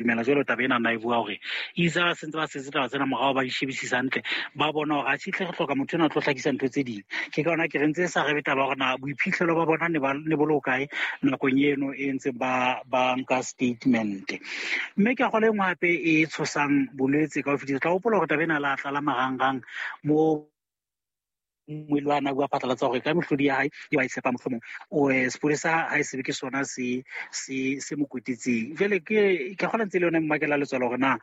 Dumela jwalo taba ena na e bua hore itse ba sentse ba setse taba tsena morao, ba di shebisisa hantle, ba bona hore atjhe re hloka motho ena a tlo hlakisa ntho tse ding. Ke ka hona ke re ntse e sa rebe taba hore na boiphihlelo ba bona ne bo le hokae nakong eno e ntse ba nka statement. Mme ke a kgolwa e nngwe hape e tshosang bolwetse ka ho fetisisa. Tla hopola hore taba ena la tlala marangrang mo moelo a na bua phatlalatsa hore ka mehlodi ya hae e ba e tshepa, mohlomong o sepolesa ha e sebe ke sona se se se mo kwetetseng. Jwale ke kgola ntse le yona mmakela letswalo hore na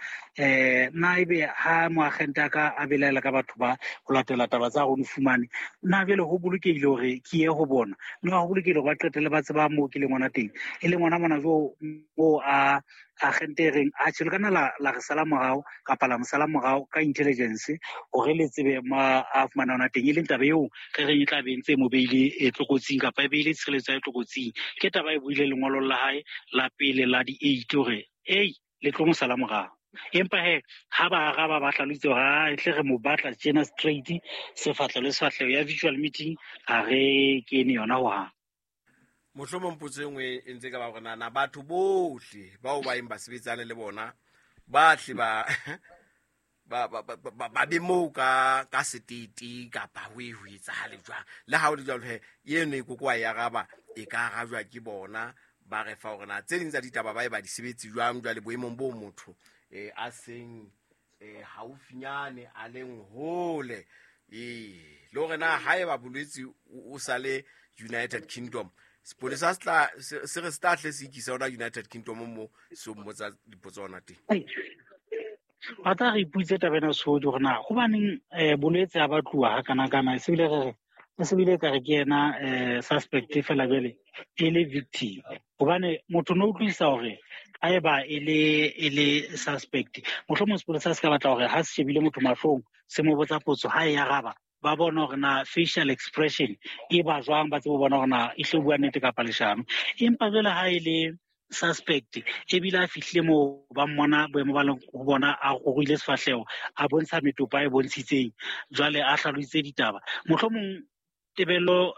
na ebe ha moagente a ka a belaela ka batho ba ho latela taba tsa rona fumane, na jwale ho bolokehile hore ke ye ho bona, na ho bolokehile hore ba qetelle ba tseba moo ke leng hona teng, e leng hona mona jo moo a agente e reng atjhe le kana la re sala morao kapa la mo sala morao ka intelligence hore le tsebe ma a fumana hona teng, e leng taba eo re reng e tla be ntse mo beile tlokotsing kapa e beile tshireletso ya tlokotsing. Ke taba e buile lengolong la hae la pele la di-8 hore ei le tlo mo sala morao. Empa he ha ba araba ba hlalositse hore ha tle re mo batla tjena straight sefahleho le sefahleho ya virtual meeting ha re kene yona hohang. Mohlomong potso e nngwe e ntse ka ba hore na batho bohle bao ba eng ba sebetsane le bona ba tle ba ba ba ba ba be moo ka setete kapa ho e ho etsahale jwang. Le ha o le jwalo he eno e koko wa e araba, e ka arajwa ke bona ba re fa hore na tse ding tsa ditaba ba e ba di sebetse jwang jwale boemong bo motho a seng haufinyane a leng hole, le hore na haeba bolwetse o sa le United Kingdom, sepolesa se tla se re se tla hle se ikisa hona United Kingdom mo se mmotsa dipotso hona teng. Ba tla re iputse taba ena sehodi hore na hobaneng bolwetse ha ba tluwa ha kana kana, e se bile re e se bile ka re ke yena suspect fela jwale e le victim, hobane motho no utlwisisa hore haeba e le suspect mohlomong sepolesa se ka batla hore ha se shebile motho mahlong se mo botsa potso, ha e araba ba bona hore na facial expression e ba jwang, ba tsebe ho bona hore na e hle bua nnete kapa leshano. Empa jwale ha e le suspect ebile a fihlile moo ba mmona boemo ba leng ho bona, a ruile sefahleho, a bontsha metopa e bontshitseng, jwale a hlalositse ditaba, mohlomong tebello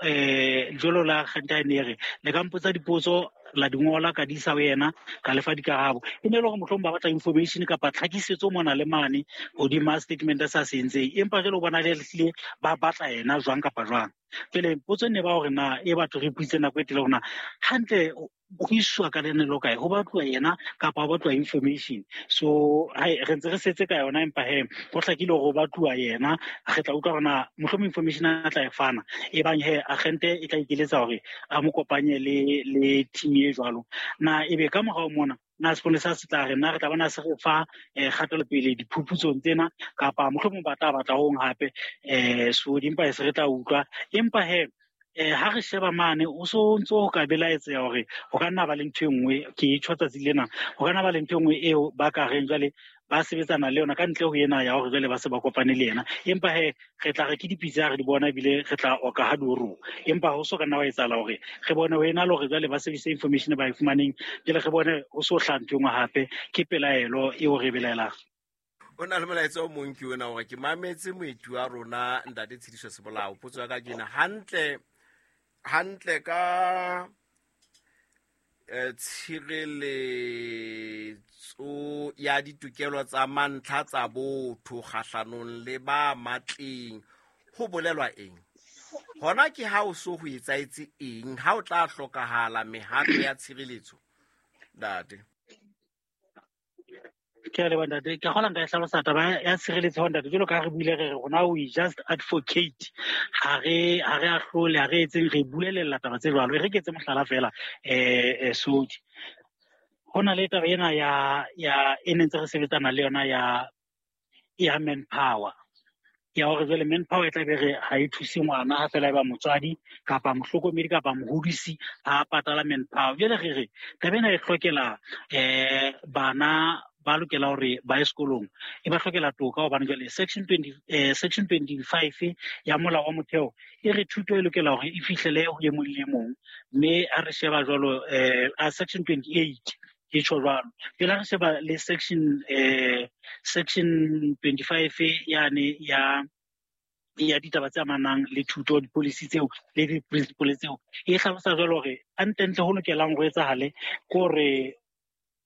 jwalo la kgenta e re le ka mpotsa dipotso la di ngola ka di isa ho yena ka lefa dikarabo, e ne le hore mohlomong ba batla information kapa tlhakisetso mona le mane hodima statement sa se entseng, empa jwale o bona le hlile ba batla yena jwang kapa jwang. Jwale potso ne ba hore na e batho re puitse nako e telele hore na hantle ho iswa ka lenelo kae, ho batluwa yena kapa ho batluwa information. So hai re ntse re setse ka yona, empa he ho hlakile hore ho batluwa yena. Re tla utlwa hore na mohlomong information a tla e fana, e bang he agente e tla ikeletsa hore a mo kopanye le team e jwalo. Na ebe ka morao mona na sepolesa se tla re na re tla bona se re fa kgatelopele diphuputsong tsena, kapa mohlomong ba tla batla hong hape so dimpa e se re tla utlwa. Empa he ha re sheba mane o so ntso ho ka belaetseha hore ho ka nna ba le ntho e nngwe, ke e tjho tsatsi lena, ho ka nna ba le ntho e nngwe eo ba ka reng jwale ba sebetsana le yona ka ntle ho ena ya hore jwale ba se ba kopane le yena. Empa he re tla re ke dipitsa ha re di bona, ebile re tla oka ha di oroha, empa ho so ka nna wa etsahala hore re bone ho ena le hore jwale ba sebedise information ba e fumaneng, jwale re bone ho so hlaha ntho e nngwe hape. Ke pelaelo eo re e belaelang. O na le molaetsa o mong ke ona hore ke mametse moeti wa rona ntate Tshidiso Sebolao. Potso ya ka ke ena, hantle hantle ka tshireletso ya ditokelo tsa mantlha tsa botho kgahlanong le ba matleng ho bolelwa eng? Hona ke ha o so ho etsaetse eng ha o tla hlokahala mehato ya tshireletso, ntate? Ke a leboha ntate. Ke kgola nka e hlalosa taba ya tshireletso ho ntate. Jwalo ka ha re buile re re rona we just advocate, ha re ahlole, ha re etseng, re buelella taba tse jwalo. E re ke etse mohlala fela Sodi. Ho na le taba ena ya e ne ntse re sebetsana le yona ya manpower, ya hore jwale manpower e tla be re ha e thuse ngwana ha fela e ba motswadi kapa mohlokomedi kapa mohodisi ha patala manpower. Jwale re re taba ena e hlokela bana ba lokela hore ba ye sekolong, e ba hlokela toka, hobane jwale section 20 section 25 ya molao wa motheo e re thuto e lokela hore e fihlele ho e mong le e mong. Mme ha re sheba jwalo a section 28 ke tjho jwalo, pele ha re sheba le section 25 yane ya ditaba tse amanang le thuto, di-policy tseo le di-principle tseo, e hlalosa jwalo hore hantlentle ho lokelang ho etsahale ke hore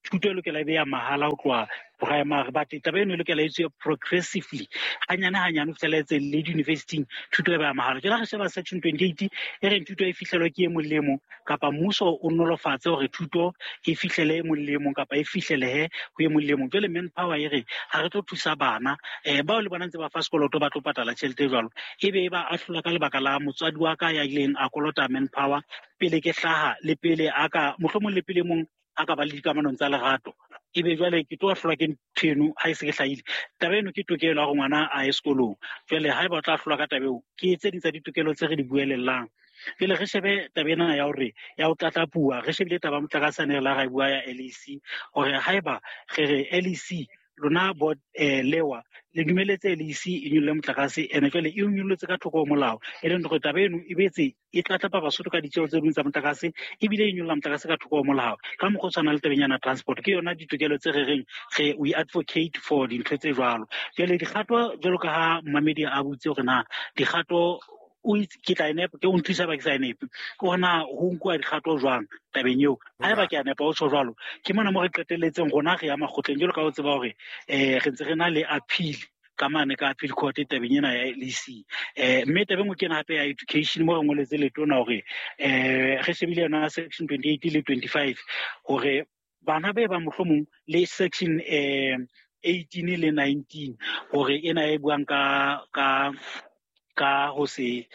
Thuto e lokela e be ya mahala ho tloha primary, but taba eno e lokela e etsuwe progressively, hanyane hanyane ho fihlela etse le di-university-ing thuto e ba ya mahala. Jwale ha re sheba section 28 e reng thuto e fihlelwe ke e mong le e mong, kapa mmuso o nolofatse hore thuto e fihlele e mong le e mong kapa e fihlelehe ho e mong le e mong. Jwale manpower e re ha re tlo thusa bana bao le bona ntse ba fa sekoloto ba tlo patala tjhelete e jwalo, ebe e ba ahlola ka lebaka la motswadi wa ka ya ileng a kolota manpower pele ke hlaha, le pele a ka mohlomong le pele mong a ka ba le dikamanong tsa lerato, ebe jwale ke tlo ahlolwa ke ntho eno ha e se ke hlahile. Taba eno ke tokelo ya hore ngwana a ye sekolong. Jwale haeba o tla ahlolwa ka taba eo, ke tse ding tsa ditokelo tse re di buelellang. Jwale re shebe taba ena ya hore ya ho tlatlapuwa, re shebile taba ya motlakase ane re la ra e bua ya LEC, hore haeba re re LEC lona board lewa le dumeletse LEC e nyolle motlakase, ene jwale e nyollotse ka thoko ho molao, e leng hore taba eno e betse e tlatlapa Basotho ka ditjeo tse ding tsa motlakase, ebile e nyolla motlakase ka thoko ho molao. Ka mokgwa o tshwanang le tabeng yana transport, ke yona ditokelo tse re reng re we advocate for dintho tse jwalo. Jwale dikgato jwalo ka ha mmamedi a botse hore na dikgato o itse ke tla e nepa, ke o nthusa ba ke sa e nepe, ke hore na ho nkuwa dikgato jwang tabeng eo. Haeba ke a nepa o tjho jwalo, ke mona mo re qetelletseng rona re ya makgotleng, jwalo ka o tseba hore re ntse re na le appeal ka mane ka appeal court tabeng ena ya LEC. Mme tabeng e nngwe ke ena hape ya education, mo re ngoletse letona hore re shebile yona section 28 le 25 hore bana be ba mohlomong le section 18 le 19 hore ena e buang ka ho se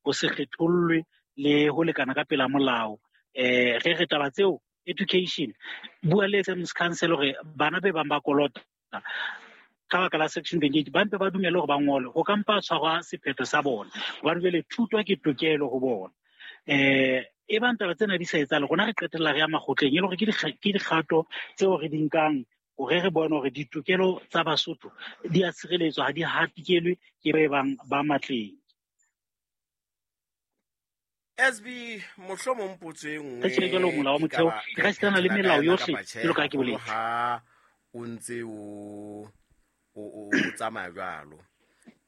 kgethollwe le ho lekana ka pela molao. Re re taba tseo education bua le SMC Council hore bana be bang ba kolota ka baka la section 28 ba mpe ba dumele hore ba ngole, ho ka mpa tshwarwa sephetho sa bona, hobane jwale thuto ke tokelo ho bona. E bang taba tsena di sa etsahale, rona re qetella re ya makgotleng, e le hore ke dikgato tseo re di nkang hore re bone hore ditokelo tsa Basotho di a tshireletswa, ha di hatikelwe ke ba bang ba matleng. SB mohlomong potso e nngwe Re tjhele jwalo molao wa motheo, e re ka sitana le ka melao yona yohle kapa tjhe, jwalo ka ha ke haholo boletse. ha o ntse o tsamaya jwalo.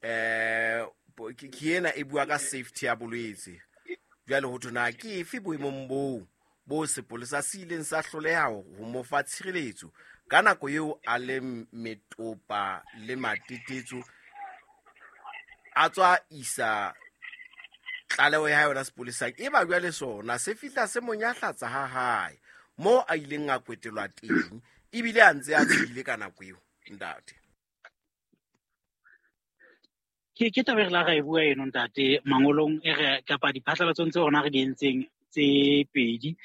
Ke ena e bua ka safety ya bolwetse. Jwale ho thwe na ke efe boemong boo bo sepolesa se ileng sa hloleha ho mo fa tshireletso ka nako eo a le metopa le matetetso, a tswa isa tlaleho ya yona sepolesang, e ba jwale sona se fihla se mo nyahlatsa ha hae moo a ileng a kwetelwa teng, ebile a ntse a tshohile ka nako eo, ntate. Ke taba e re la ra e bua eno, ntate, mangolong e re kapa diphatlalatsong tse rona re di entseng tse pedi,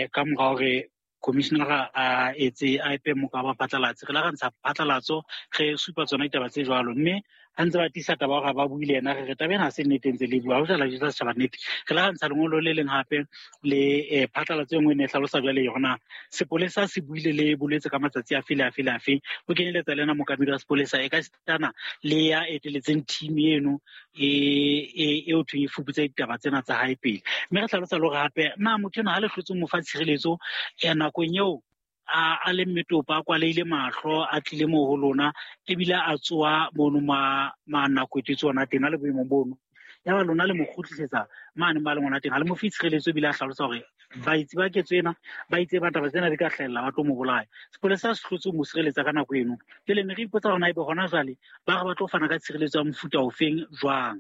ka mora hore commissioner a etse a epe moka wa phatlalatse, re la ra ntsha phatlalatso re supa tsona ditaba tse jwalo, mme ha ntse ba tiisa taba hore ba buile yena, re re taba ena ha se nnete ntse le bua, ha ho jala jwetsa setjhaba nnete. Re la ra ntsha lengolo le leng hape le phatlalatso e nngwe e ne e hlalosa jwale hore na sepolesa se buile le bolwetse ka matsatsi afe le afe le afe, ho kenyeletsa le yena mookamedi wa sepolesa, e ka sitana le ya eteletseng team eno e ho thweng e fuputse ditaba tsena tsa hae pele. Mme re hlalosa le hore hape na motho enwa ha le hlotse mo fa tshireletso nakong eo a le mmetopa, a kwalehile mahlo, a tlile moo ho lona, ebile a tsoha mono ma nako e tsona ona teng, a le boemong bono. Ya ba lona le mo kgutlisetsa mane ba leng hona teng, ha le mo fe tshireletso, ebile a hlalosa hore baetsi ba ketso ena ba itse ba taba tsena di ka hlahella, ba tlo mo bolaya. Sepolesa se hlotse ho mo sireletsa ka nako eno. Jwale ne re ipotsa hore na ebe hona jwale ba re ba tlo fana ka tshireletso ya mofuta ofeng jwang.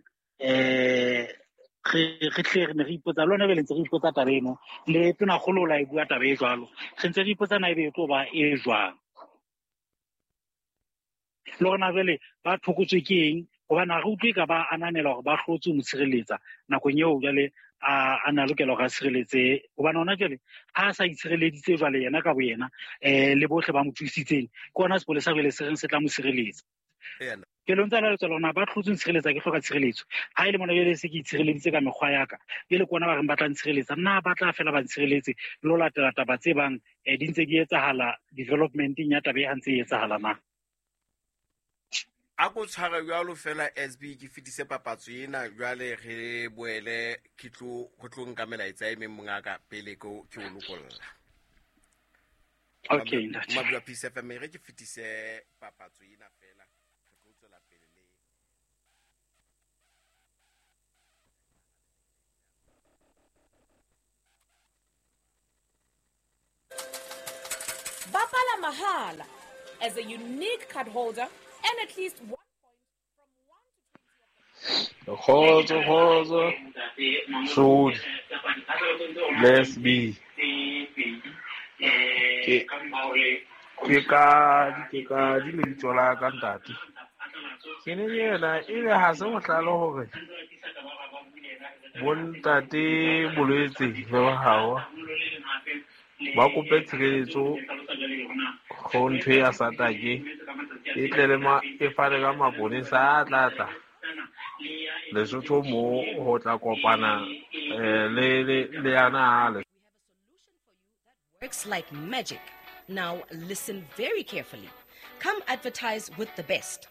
Re tle re ne re ipotsa le hona jwale ntse re ipotsa taba eno, le tonakgolo o la e bua taba e jwalo, re ntse re ipotsa na ebe e tlo ba e jwang. Le hore na jwale ba thokotswe ke eng, hobane ha re utlwe ka ba ananela hore ba hlotse ho mo tshireletsa nakong eo jwale a na lokela hore a tshireletse, hobane hona jwale ha a sa itshireleditse jwale yena ka boyena, le bohle ba mo thusitseng, ke hona sepolesa jwale se reng se tla mo sireletsa. Ke lo ntse la letswalo hore na ba hlotse ho ntshireletsa, ke hloka tshireletso. Ha e le mona jwale se ke itshireleditse ka mekgwa ya ka, jwale ke bona ba reng ba tla ntshireletsa, nna ba tla fela ba ntshireletse le ho latela taba tse bang di ntse di etsahala development-eng ya taba e ha ntse e etsahala na. A ko tshware jwalo fela SB, ke fetise papatso ena jwale re boele ke tlo ho tlo nka melaetsa e meng mongaka pele ke o lokolla. Okay, ntate. Mabua Peace FM, re ke fetise papatso ena fela, re tlo tswela pele le Bapala mahala as a unique card holder and at least 1 point from 1 to 20. Kgotso, kgotso, Sodi, Les B. Ke ka di lebitso la ka ntate. Ke ne ke yena ebe ha se bohlale hore bontate Bolwetse le Bahawa ba kope tshireletso ho ntho ya satake e tle le e fane ka maponesa a tla tla Lesotho mo ho tla kopana le yana le works like magic. Now listen very carefully. Come advertise with the best.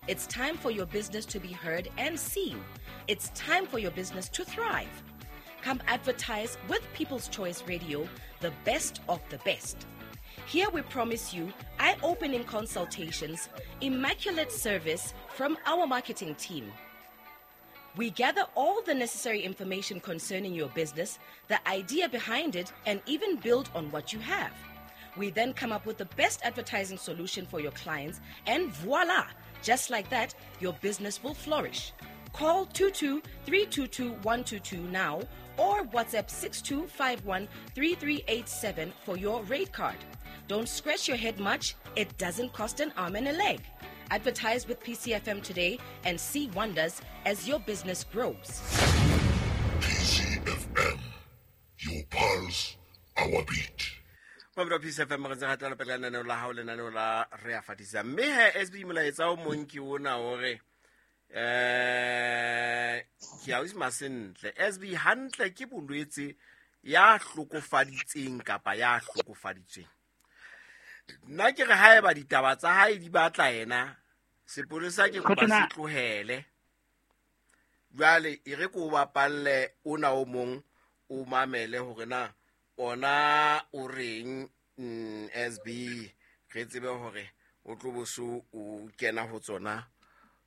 It's time for your business to be heard and seen. It's time for your business to thrive. Come advertise with People's Choice Radio, the best of the best. Here we promise you eye-opening consultations, immaculate service from our marketing team. We gather all the necessary information concerning your business, the idea behind it, and even build on what you have. We then come up with the best advertising solution for your clients, and voila! Just like that, your business will flourish. Call 22-322-122 now or WhatsApp 6251-3387 for your rate card. Don't scratch your head much. It doesn't cost an arm and a leg. Advertise with PCFM today and see wonders as your business grows. PCFM, your pulse, our beat. Mamelo PCFM re ntse re tla pele lenaneo la hao, lenaneo la re a fatisa. Mme he SB molaetsa o mong ke ona hore ke a o masentle. SB hantle ke bolwetse ya hlokofaditseng kapa ya hlokofaditsweng. Nna ke re haeba ditaba tsa hae di batla yena, sepolesa ke kopa se tlohele. Jwale e re ko bapalle ona o mong o mamele hore na ona o reng SB re tsebe hore o tlo boso o kena ho tsona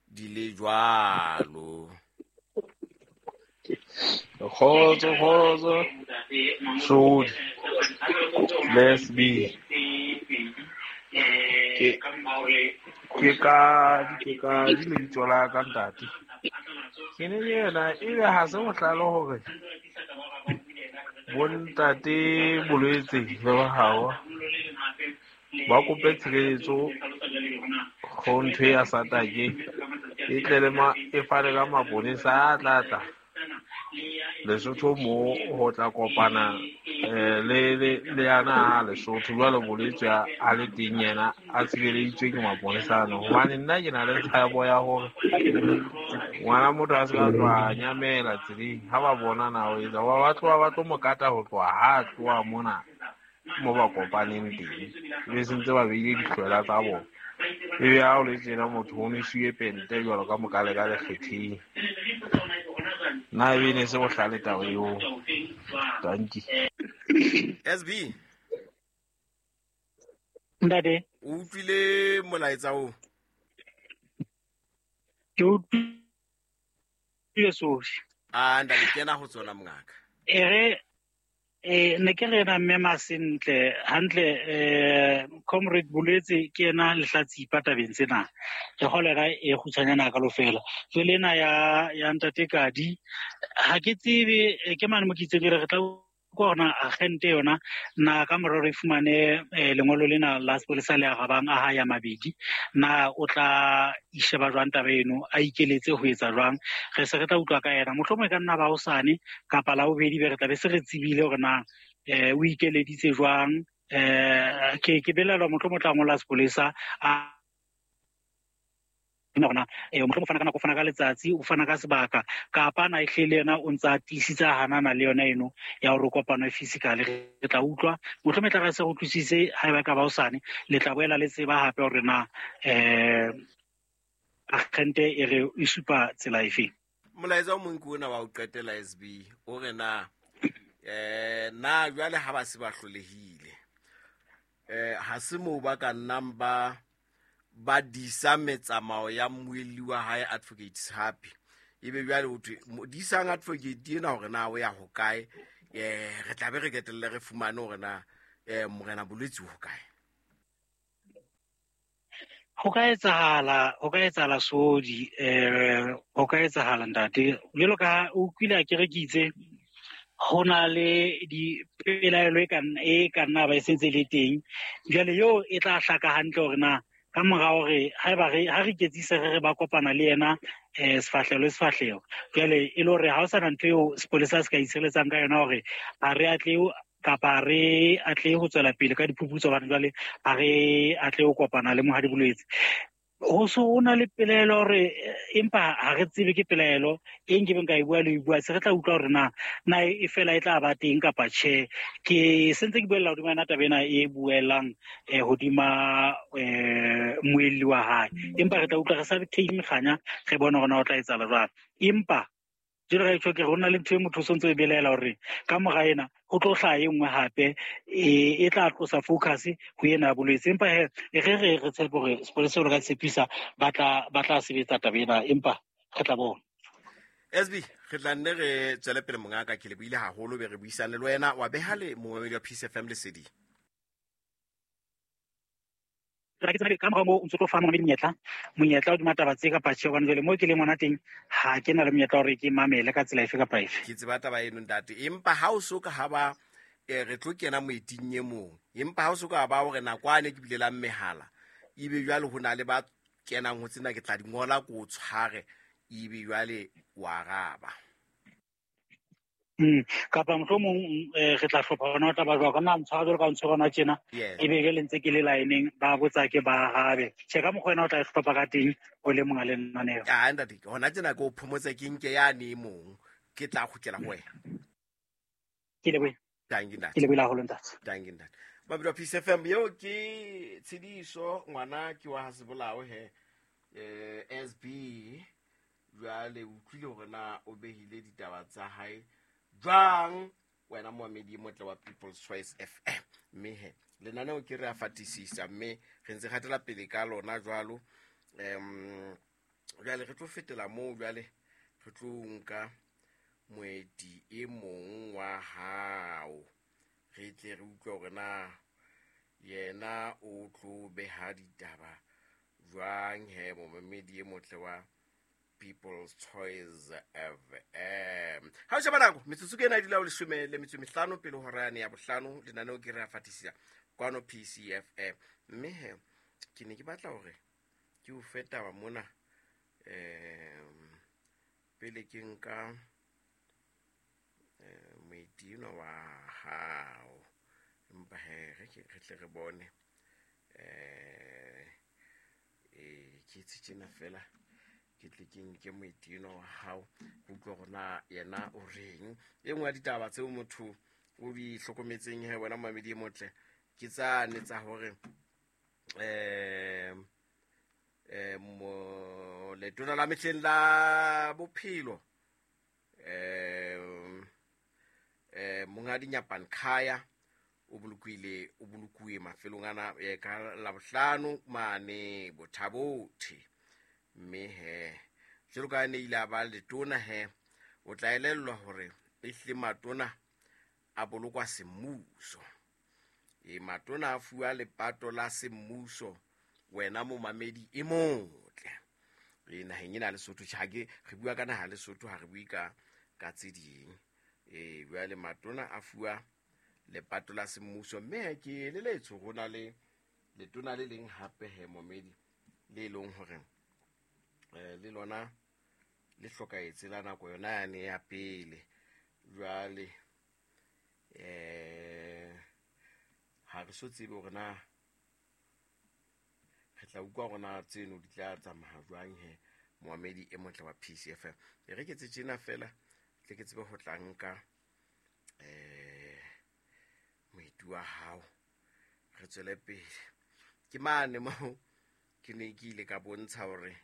di le jwalo. Kgotso, kgotso, Sodi, Les B. Ke ka di lebitso la ka ntate. Ke ne ke yena ebe ha se bohlale hore bontate Bolwetse le Bahawa ba kope tshireletso ho ntho ya satake e tle le e fane ka maponesa a tla tla Lesotho mo ho tla kopana le yana Lesotho. Jwale Bolwetse a le teng yena a tshireleditswe ke maponesa ano. Hobane nna ke na le tshabo ya hore ngwana motho a se ka tloha nyamela tseleng ha ba bona na o etsa ba tloha ba tlo mo kata ho tloha ha tloha mona mo ba kopaneng teng, ebe sentse ba beile dihlwela tsa bona. Ebe ha o le tjena motho o nwesiwe pente jwalo ka mokale ka lekgetheng. Nna ebe ne se bohlale taba eo. Dankie. SB. Ntate. O utlwile molaetsa o? Ke utlwile sohle. Ah, ntate kena ho tsona mongaka. Ere ne ke re na mme Masentle hantle comrade Bolwetse ke yena lehlatsipa tabeng tsena. Ke kgolera e kgutshwanyana ka lofela. Jwale ena ya ntate Kadi ha ke tsebe ke mane mo ke itseng re tla ko hona agente yona na ka morero e fumane lengolo lena la sepolesa le arabang a ha ya mabedi na o tla isheba jwang taba eno a ikeletse ho etsa jwang. Re se re tla utlwa ka yena mohlomong e ka nna ba hosane kapa la bobedi be re tla be se re tsebile hore na o ikeleditse jwang. Ke belaelwa mohlomong o tla ngola sepolesa a hona mohlomong o fana ka nako, o fana ka letsatsi, o fana ka sebaka, kapa na ehlile yena o ntsa tiisitse hanana le yona eno ya hore kopano e physical. Re tla utlwa mohlomong e tla re se re utlwisise haeba ka ba hosane le tla boela le tseba hape hore na agente e re e supa tsela efe. Molaetsa o mong ke ona wa ho qetela SB o re na na jwale ha ba se ba hlolehile ha se moo ba ka nnang ba disa metsamao ya mmuelli wa hae Advocate Happy ebe jwale ho thwe disang advocate ena hore na o ya hokae, re tla be re ketelle re fumane hore na morena Bolwetse ho kae. Ho ka etsahala, ho ka etsahala Sodi, ho ka etsahala ntate. Jwalo ka o kwile a ke re ke itse ho na le dipelaelo e ka nna ba e sentse le teng. Jwale eo e tla hlaka hantle hore na ka mora hore haeba re ha re iketsise re re ba kopana le yena sefahleho le sefahleho. Jwale e le hore ha ho sana ntho eo sepolesa se ka itshireletsang ka yona hore ha re atle kapa re atle ho tswela pele ka diphuputso hobane jwale ha re atle ho kopana le mohadi bolwetse. Ho so ho na le pelaelo hore empa ha re tsebe ke pelaelo e nkebeng ka e bua le e bua, se re tla utlwa hore na e fela e tla ba teng kapa tjhe. Ke sentse ke buella hodima yona taba ena e buellang hodima moelli wa hae, empa re tla utlwa re sa theile mekganya, re bone hore na ho tla etsahala jwang. Empa jwalo ka tjho ke re ho na le ntho e motho o sontso e belaela hore ka mora ena ho tlo hlaha e nngwe hape e tla tlosa focus ho ena ya bolwetse. Empa he re re re tshepe hore sepolesa se ka tshepisa ba tla sebetsa taba ena, empa re tla bona. SB, re tla nne re tswele pele mongaka, ke le buile haholo be re buisane le wena wa beha le momamedi wa Peace FM leseding. Ka mora moo o ntso tlo fa momamedi monyetla hodima taba tse kapa tjhe, hobane jwale moo ke leng hona teng ha ke na le monyetla hore ke mamele ka tsela efe kapa efe. Ke tseba taba eno ntate, empa ha o so ka ha ba re tlo kena moeting e mong, empa ha o so ka ba hore nakwane ke bile la mehala ebe jwale ho na le ba kenang ho tsena ke tla di ngola ko o tshware ebe jwale wa araba. Kapa mohlomong re tla hlopha hona ho tla ba jwang, ka nna ntshwara jwalo ka ntshwara hona tjena, ebe jwale ntse ke le line-eng ba botsa ke ba arabe. Tjhe, ka mokgwa wena o tla e hlopha ka teng o le monga lenaneo. Ah, ntate, hona tjena ke o phomotse ke nke yane e mong, ke tla kgutlela ho wena. Ke lebohile. Thank you, ntate. Ke lebohile haholo, ntate. Thank you, ntate. Mabidi wa Peace FM, eo ke Tshidiso, ngwana ke wa ha Sebolao he, SB, jwale o utlwile hore na o behile ditaba tsa hae jwang wena moamedi motle wa People's Choice FM. Mme he lenaneo ke re a fatisisa, mme re ntse gatela pele ka lona jwalo. Jwale re tlo fetela moo, jwale re tlo nka moeti e mong wa hao, re tle re utlwe hore na yena o tlo beha ditaba jwang he momamedi e motle wa People's Choice FM. Ha o sheba nako, metsotso ke ena e dula ho 15 pele hora yane ya bohlano, lenaneo ke re a fatisisa kwano PCFM. Mme he, ke ne ke batla hore ke o fe taba mona, pele ke nka moeti enwa wa hao. Empa he, re tle re bone, ke etse tjena fela, ke tle ke nke moeti enwa wa hao, ke utlwe hore na yena o reng. E nngwe ya ditaba tseo motho o di hlokometseng he wena momamedi e motle, ke tsane tsa hore, letona la mehleng la bophelo, Monghadi Nyapan Khaya o bolokuwe mafelong ana, ka Labohlano mane Bothabothe. Mme he jwalo ka ne ile a ba letona he, o tla elellwa hore ehlile matona a bolokwa semmuso. Matona a fuwa lepato la semmuso, wena momamedi e motle. Naheng ena ya Lesotho, tjhe, ha ke re bua ka naha ya Lesotho, ha re bue ka tse ding. Jwale matona a fuwa lepato la semmuso, mme ke eleletswe ho na le letona le leng hape he momedi, le leng hore le lona le hlokahetse la nako yona yane ya pele. Jwale ha re so tsebe hore na re tla utlwa hore na tseno di tla tsamaya jwang he moamedi e motle wa PCFM. E re ke tse tjena fela, tle ke tsebe ho tla nka moeti wa hao, re tswele pele. Ke mane moo ke ne ke ile ka bontsha hore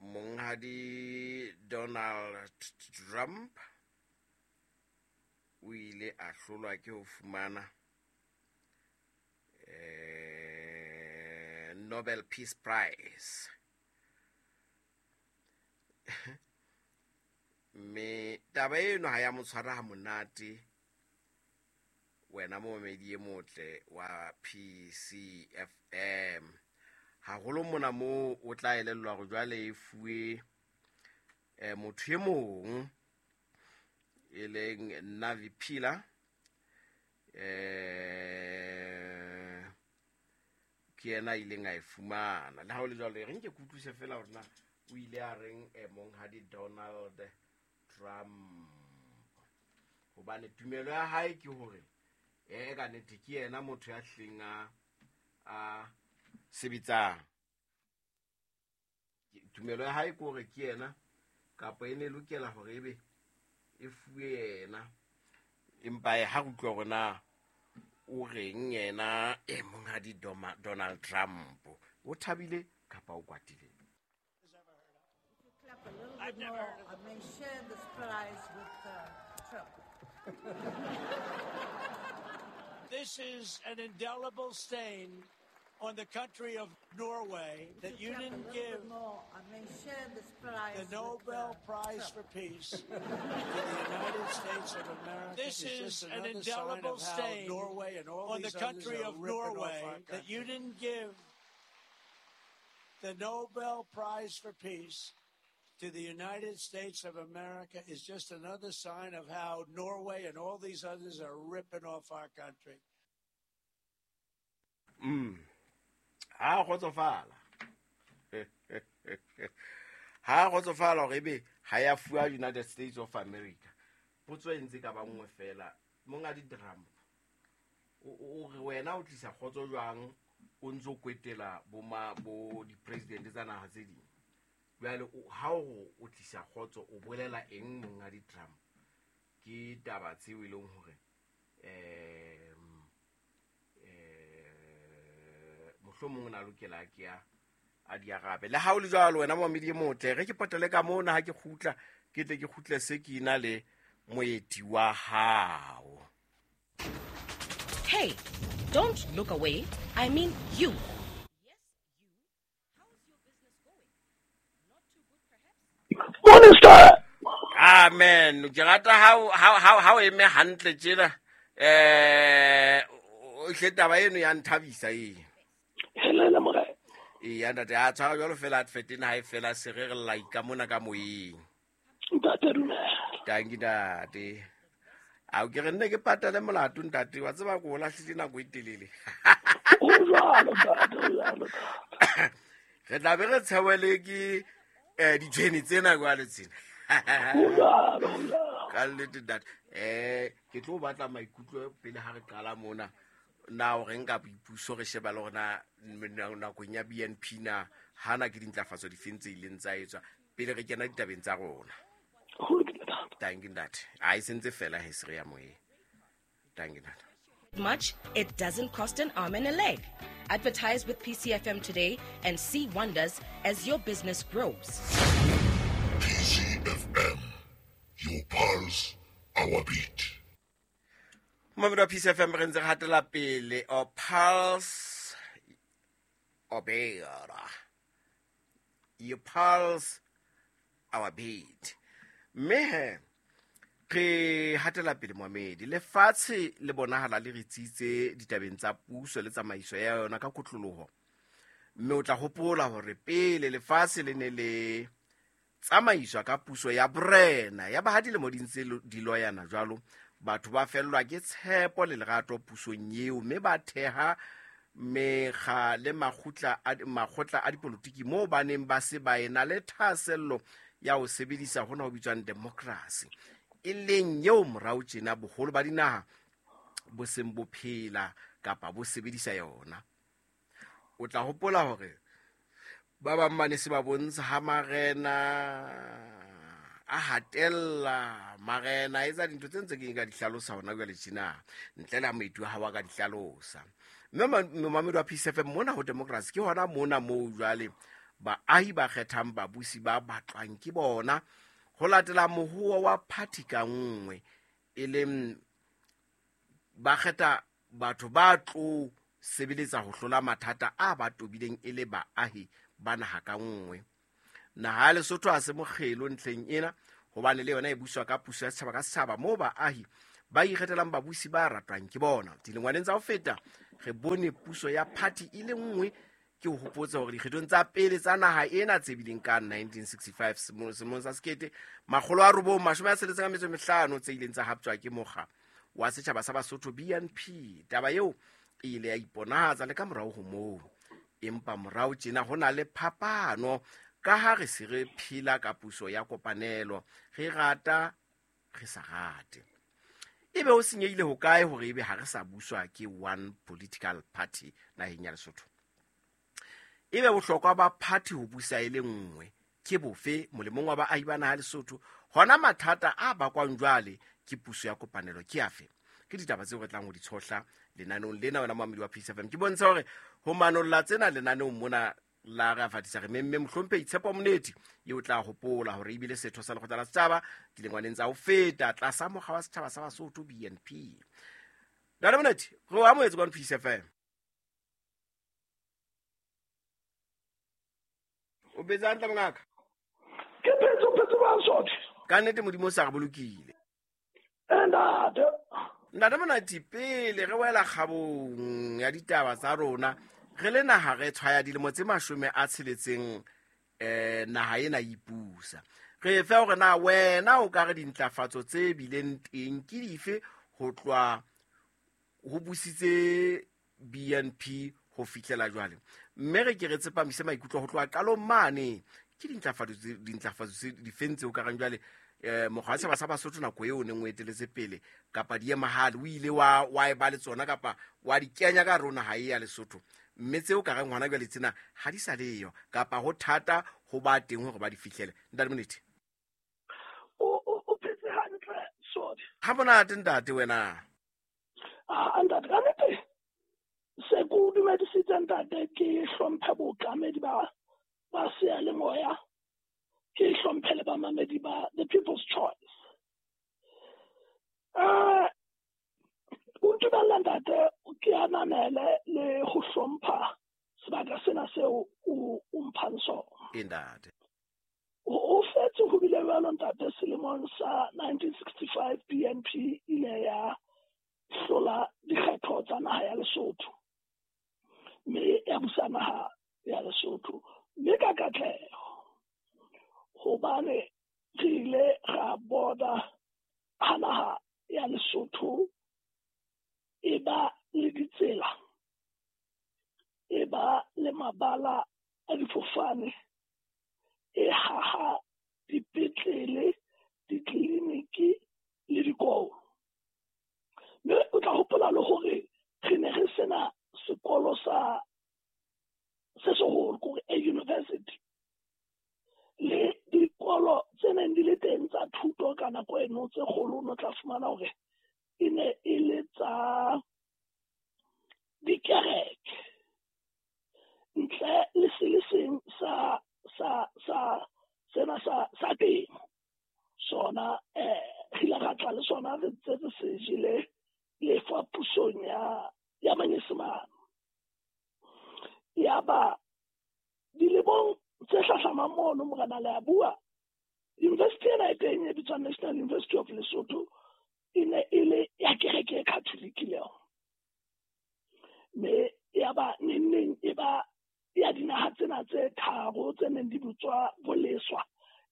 Monghadi Donald Trump o ile a hlolwa ke ho fumana Nobel Peace Prize. Mme taba eno ha ya mo tshwara ha monate Wena momamedi e motle wa PCFM. Haholo mona moo o tla elellwa hore jwale e fuwe motho e mong e leng Navi Pillay, ke yena a ileng a e fumana. Le ha ho le jwalo, e re nke ke utlwise fela hore na o ile a reng monghadi Donald Trump, hobane tumelo ya hae ke hore ka nnete ke yena motho ya hlileng a sebetsang. Tumelo ya hae ke hore ke yena, kapa e ne lokela hore ebe e fuwe yena, empa ha re utlwa hore na o reng yena monghadi Donald Trump, o thabile kapa o kwatile. I've never heard of I may share this prize with Trump. This is an indelible stain on the country of Norway that you didn't give I may share this prize the Nobel Prize for Peace to the United States of America. This is an indelible stain Norway and all on the country of Norway that you didn't give the Nobel Prize for Peace to the United States of America is just another sign of how Norway and all these others are ripping off our country. Ha kgotsofala. Ha kgotsofala hore ebe ha ya fuwa United States of America. Potso e ntse ka ba nngwe fela, monghadi Trump, o re wena o tlisa kgotso jwang o ntso kwetela bo di-president tsa naha tse ding? Jwale ha o tlisa kgotso o bolela eng monghadi Trump? Ke taba tseo e leng hore mohlomong na lokela ke a di arabe. Le ha o le jwalo wena momamedi e motle, re ke potele ka mona ha ke kgutla, ke tle ke kgutle se ke ina le moeti wa hao. Hey, don't look away. I mean you. Yes, you. How's your business going? Not too good perhaps? Morning, star. Amen. Ke rata ha o eme hantle tjena. O hle taba eno ya nthabisa e. Hello morena. E ntate a tshwara jwalo fela advert ena ha e fela se re re like mona ka moyeng. Ntate dumela. Tanki ntate. A o ke re nne ke patale molato ntate, wa tseba ko o lahlile nako e telele. O jwalo ntate, o jwalo. Re tla be re tshewele ke ditshwene tsena jwale tsena. O jwalo, o jwalo. Ka nnete ntate. Ke tlo batla maikutlo pele ha re qala mona. Na o re nka boipuso re sheba le hore na nakong ya BNP na hana ke dintlafatso difeng tse ileng tsa etswa pele re kena ditabeng tsa rona. Thank you ntate. A e sentse fela he se re ya moyeng. Thank you ntate. Much, it doesn't cost an arm and a leg. Advertise with PCFM today and see wonders as your business grows. PCFM, your pulse, our beat. Mamedi wa PCFM re ntse re hatela pele, or pulse or beat. Your pulse, our beat. Mme re hatela pele momamedi, lefatshe le bonahala le re tsitse ditabeng tsa puso le tsamaiso ya yona ka kotloloho. Mme o tla hopola hore pele lefatshe le ne le tsamaiswa ka puso ya borena, ya ba ha dilemo di ntse di loyana jwalo, batho ba fellwa ke tshepo le lerato pusong eo, mme ba theha mekga le makgotla a dipolotiki moo ba neng ba se ba ena le thahasello ya ho sebedisa hona ho bitswang democracy, e leng eo morao tjena boholo ba dinaha bo seng bo phela kapa bo sebedisa yona. O tla hopola hore ba bang ba ne se ba bontsha ha marena a hatella, marena a etsa dintho tse ntse ke nka di hlalosa hona jwale tjena, ntle le ha moeti wa hao a ka di hlalosa. Mme momamedi wa PCFM mona ho democracy ke hona mona moo jwale baahi ba kgethang babusi ba batlwang ke bona ho latela mohoa wa party ka nngwe, e leng ba kgetha batho ba tlo sebeletsa ho hlola mathata a ba tobileng e le baahi ba naha ka nngwe. Naha ya Lesotho ha se mokgelo ntlheng ena, hobane le yona e buswa ka puso ya setjhaba ka setjhaba, moo baahi Ba ikgethelang babusi ba ratwang ke bona. Dilengwaneng tsa ho feta re bone puso ya party e le nngwe. Ke ho hopotsa hore dikgethong tsa pele tsa naha ena tse bileng ka 1965 selemong sa 1965 tse ileng tsa haptjwa ke mokga wa setjhaba sa Basotho BNP. Taba eo e ile ya iponahatsa le ka morao ho moo. Empa morao tjena ho na le phapano ka ha re se re phela ka puso ya kopanelo, re rata re sa rate. Ebe ho senyehile hokae hore ebe ha re sa buswa ke one political party naheng ya Lesotho? Ebe bohlokwa ba party ho busa e le nngwe ke bofe molemong wa baahi ba naha Lesotho? Hona mathata a bakwang jwale ke puso ya kopanelo ke afe? Ke ditaba tseo re tlang ho di tshohla lenaneong lena, wena moamedi wa Peace FM. Ke bontsha hore ho manolla tsena lenaneong mona la re afatisa re memme mohlomphehi Tshepo Moneti, eo tla hopola hore ebile setho sa lekgotla la setjhaba dilengwaneng tsa ho feta tlasa mokga wa setjhaba sa Basotho BNP. Ntate Moneti, re o amohetse kwano Peace FM. O phetse hantle mongaka? Ke phetse, o phetse jwang, Sotho? Ka nnete Modimo o sa re bolokile. Ntate. Ntate Monati, pele re wela kgabong ya ditaba tsa rona, re le naha re tshwaya dilemo tse 60 naha ena e ipusa. Re fe hore na wena o ka re dintlafatso tse bileng teng ke dife ho tloha ho busitse BNP ho fihlela jwale, mme re ke re tsepamise maikutlo ho tloha qalong mane ke dintlafatso tse difeng tseo ka reng jwale mokgwa wa setjhaba sa Basotho nako eo o neng o eteletse pele kapa di emahale o ile wa e ba le tsona kapa wa di kenya ka hare ho naha e ya Lesotho, mme tseo ka reng hona jwale tsena ha di sa leyo kapa ho thata ho ba teng hore ba di fihlele. Ntate Moneti. O phetse hantle, Sodi? Ha monate ntate wena. Ah, ntate, ka nnete se ke o dumedisitse ntate, ke hlomphe bookamedi ba seyalemoya, ke hlomphe le bamamedi ba The People's Choice. O ntumella ntate ke ananele le ho hlompha sebaka sena seo o mphang sona. Ntate. O fetse ho bile jwalo ntate, selemong sa 1965 BNP ile ya hlola dikgetho tsa naha ya Lesotho, mme ya busa naha ya Lesotho, mme ka katleho, hobane re ile ra bona ha naha ya Lesotho e ba le ditsela, e ba le mabala a difofane, e haha dipetlele, ditleliniki le dikolo. Mme o tla hopola le hore re ne re sena sekolo sa se seholo, kore a university, le dikolo tse neng di le teng tsa thuto ka nako eno tse kgolo, o tla fumana hore e ne e le tsa dikereke, ntle le se le seng sa sa sa sena sa temo. Sona re ile ra tla le sona re ntse re se jele lefa pusong ya Manyesemane. Yaba dilemong tse hlahlamang mono, morena le a bua, university ena e teng e bitswang National University of Lesotho e ne e le ya kereke e Catholic le yona. Mme yaba neng e ba ya dinaha tsena tse tharo tse neng di bitswa Boleswa,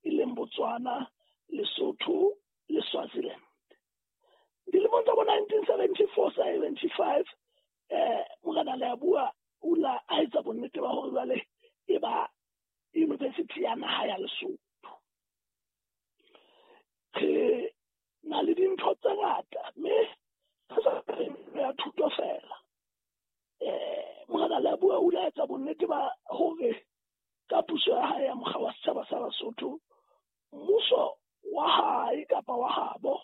e leng Botswana, Lesotho le Swaziland. Dilemong tsa bo 1974 75 morena le a bua o la a etsa bonnete ba hore jwale e ba university ya naha ya Lesotho. Re na le dintho tse ngata, mme re sa ya thuto fela. Morena le a bua o la etsa bonnete ba hore ka puso ya hae ya mokga wa setjhaba sa Basotho, mmuso wa hae kapa wa habo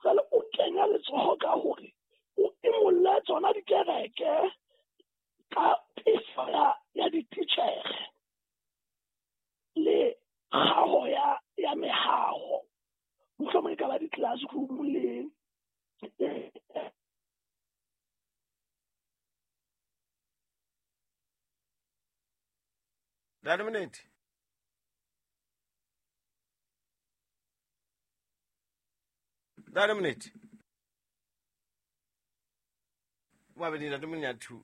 jwale o kenya letsoho ka hore o imolle tsona dikereke ka tefo ya dititjhere le kgaho ya mehaho, mohlomong e ka ba di-classroom le Ntate Moneti. Ntate Moneti. Babedi, ntate Monyathu.